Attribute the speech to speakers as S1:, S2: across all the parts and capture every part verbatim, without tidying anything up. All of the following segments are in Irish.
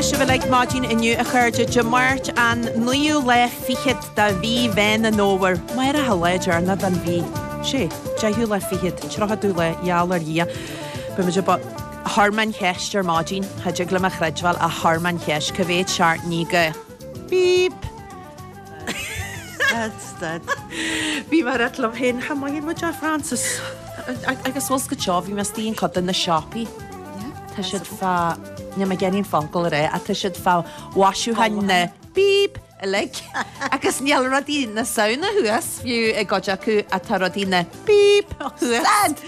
S1: sibh uilig maidin inniu a chairde Dé Máirt an naoú lá fichead de mhí Mheán an Fhómhair. Amárach an lá deireanach den mhí. Sé, deichiú lá fichead, tríochadú lá, gheall ar Dhia. Beimid ag Chuir mé an cheist ar maidin, cha dtig liom a chreidbheáil ach chuir mé an cheist, cá mhéad seachtainí go Beep!
S2: Stad, stad.
S1: Bhí mé ag rá liom féin, cha maith muid a Frances. Agus bhfuil go seo, bhí mé istigh in cuid de na siopaí. Tá siad fá níl mé ag iarraidh an focal a rá, ach tá siad fá mhaisiúcháin na beep uilig. Agus níl rudaí na Samhna thuas fiú i gcuid acu atá rudaí na beep thuas.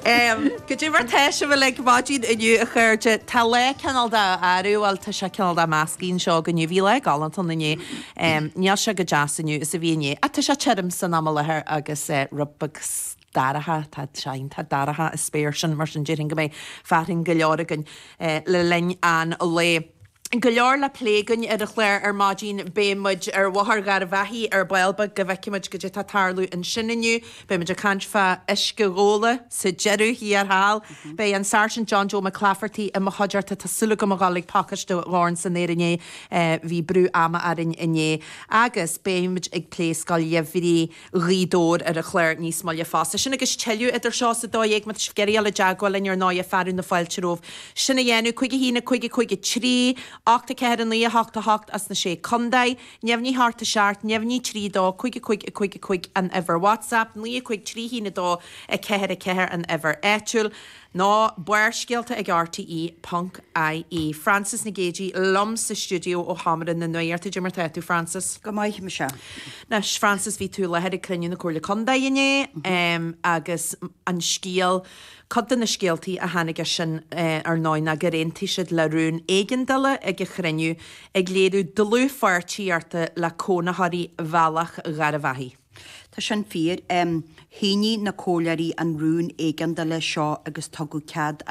S1: Um, Goidé mar tá sibh uilig maidin inniu a chairde Tá lá cineál de athrú bhuel tá sé cineál de measctha anseo inniu bhí lá galánta inné. Um, Níl sé chomh deas inniu is a bhí inné. A tá sé tirim san am i láthair agus uh, rud beag dorcha tá sein tá dorcha is spéir sin mar sin déarfainn go mbeidh fearthainn go leor againn eh, le linn an lae. Go leor le plé againn ar an chlár ar maidin beidh muid ar Bhóthar Gharbhachaidh ar ball beag go bhfeicfimid goidé tá ag tarlú ansin inniu, Beidh muid ag caint fá uisce góla sa deireadh thiar thall. Beidh an Sergeant John Joe McClafferty i mo chuideachta tá súil agam a ghabháil ag pacáiste Dhorn san aer inné bhí brú ama orainn inné. Agus beimid ag plé Scoil Gheimhridh Ghaoth Dobhair ar an chlár níos moille fosta. Sin agus tuilleadh idir seo is a dó dhéag má tá sibh ag iarraidh dul i dteagmháil linn ar ndóigh fearadh na fáilte romhaibh. Sin a dhéanamh cúig a haon a cúig a cúig a trí, ocht a ceathair a naoi a hocht a hocht as na sé contae, neamhní hocht a seacht, neamhní trí dó, cúig a cúig a cúig a cúig an uimhir WhatsApp, naoi a cúig trí haon a dó a ceathair a ceathair an uimhir áitiúil. Nó Barrscéalta ag RTE ponc IE. Frances Nic Géadaigh liom sa stiúideo ó Sheomra na Nuachta Goidé mar tá tú Frances.
S2: Go maith mise.
S1: Anois Frances bhí tú i láthair ag cruinniú na Comhairle Contae inné um, agus an scéal Cud de na scéaltaí a tháinig sin eh, ar ndóigh ná gur aontaigh siad le rún éigeandála ag an chruinniú ag léiriú dlúthpháirtíochta le cónaitheoirí Bhealach Gharbhachaidh.
S2: Tá sin fíor um, shínigh na comhairleoirí an rún éigeandála seo agus tugadh cead an